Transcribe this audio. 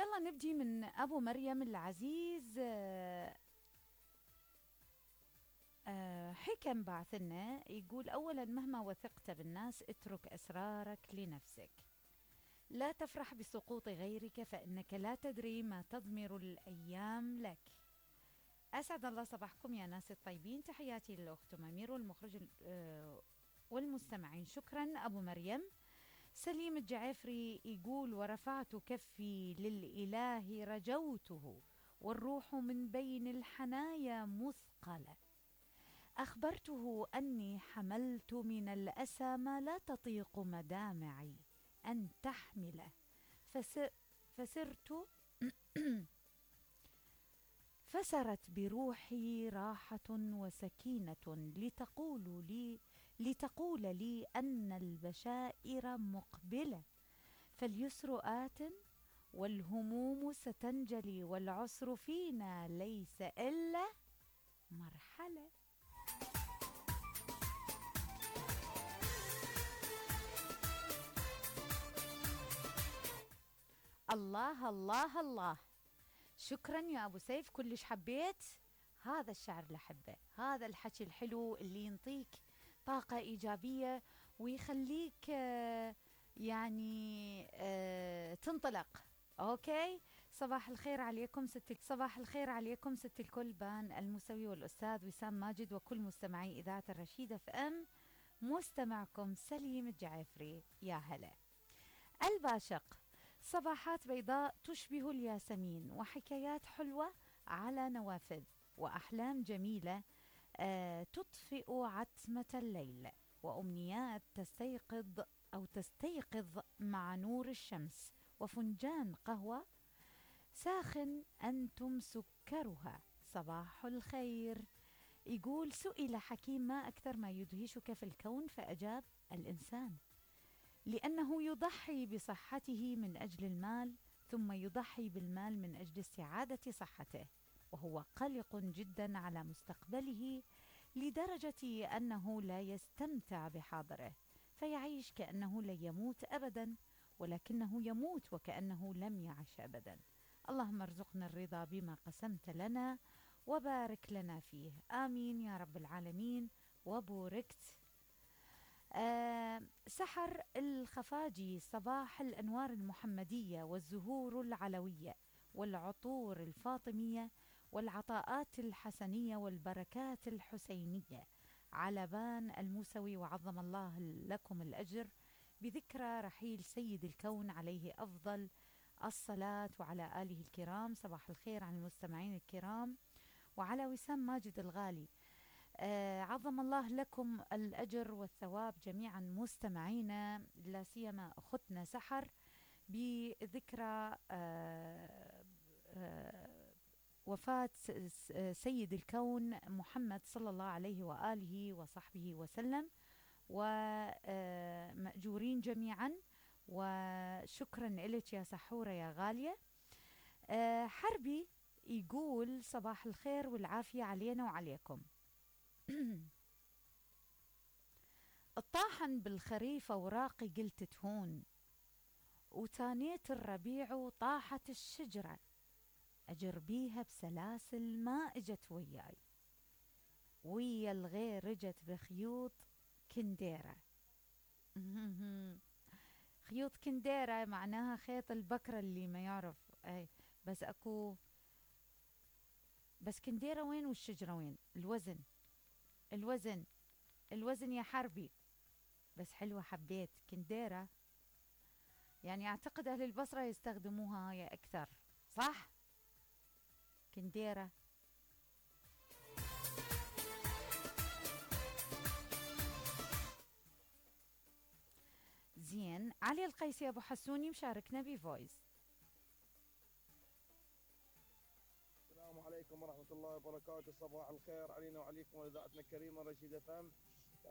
يلا نبدي من أبو مريم العزيز. حكم بعثنا يقول: أولا، مهما وثقت بالناس اترك أسرارك لنفسك. لا تفرح بسقوط غيرك فإنك لا تدري ما تضمر الأيام لك. أسعد الله صباحكم يا ناس الطيبين. تحياتي للأخت ممير والمخرج والمستمعين. شكرا أبو مريم. سليم الجعفري يقول: ورفعت كفي للإله رجوته والروح من بين الحنايا مثقلة. أخبرته أني حملت من الأسى ما لا تطيق مدامعي أن تحمله، فسرت فسرت بروحي راحة وسكينة لتقول لي أن البشائر مقبلة، فاليسر آت والهموم ستنجلي والعسر فينا ليس إلا مرحلة. الله الله الله. شكرا يا أبو سيف، كلش حبيت هذا الشعر لحبه، هذا الحكي الحلو اللي ينطيك طاقة إيجابية ويخليك يعني تنطلق. أوكي، صباح الخير عليكم صباح الخير عليكم ست الكل، بان الموسوي والأستاذ وسام ماجد وكل مستمعي إذاعة الرشيدة FM. مستمعكم سليم الجعفري. يا هلا. الباشق: صباحات بيضاء تشبه الياسمين وحكايات حلوة على نوافذ وأحلام جميلة تطفئ عتمة الليل وأمنيات تستيقظ مع نور الشمس وفنجان قهوة ساخن أنتم سكرها. صباح الخير. يقول: سئل حكيم: ما أكثر ما يدهشك في الكون؟ فأجاب: الإنسان، لأنه يضحي بصحته من أجل المال، ثم يضحي بالمال من أجل استعادة صحته، وهو قلق جدا على مستقبله لدرجة أنه لا يستمتع بحاضره، فيعيش كأنه لن يموت أبدا، ولكنه يموت وكأنه لم يعش أبدا. اللهم ارزقنا الرضا بما قسمت لنا وبارك لنا فيه، آمين يا رب العالمين. وبوركت. سحر الخفاجي: صباح الأنوار المحمدية والزهور العلوية والعطور الفاطمية والعطاءات الحسنية والبركات الحسينية على بان الموسوي، وعظم الله لكم الأجر بذكرى رحيل سيد الكون عليه أفضل الصلاة وعلى آله الكرام. صباح الخير عن المستمعين الكرام وعلى وسام ماجد الغالي. عظم الله لكم الأجر والثواب جميعا مستمعينا، لا سيما أختنا سحر بذكرى وفاة سيد الكون محمد صلى الله عليه وآله وصحبه وسلم، ومأجورين جميعا. وشكرا لك يا سحورة يا غالية. حربي يقول: صباح الخير والعافية علينا وعليكم. الطاحن بالخريف اوراقي قلت تهون، وتانيت الربيع وطاحت الشجرة، اجر بيها بسلاسل ما اجت وياي، ويا الغير اجت بخيوط كنديرة. خيوط كنديرة معناها خيط البكرة اللي ما يعرف. اي بس اكو بس كنديرة وين والشجرة وين؟ الوزن يا حربي. بس حلوة، حبيت كنديرة، يعني اعتقد اهل البصرة يستخدموها هاي اكثر، صح؟ كنديرة. زين. علي القيسي ابو حسوني مشاركنا بفويس. السلام عليكم ورحمة الله وبركاته. صباح الخير علينا وعليكم وإذاعتنا الكريمة رشيدة FM.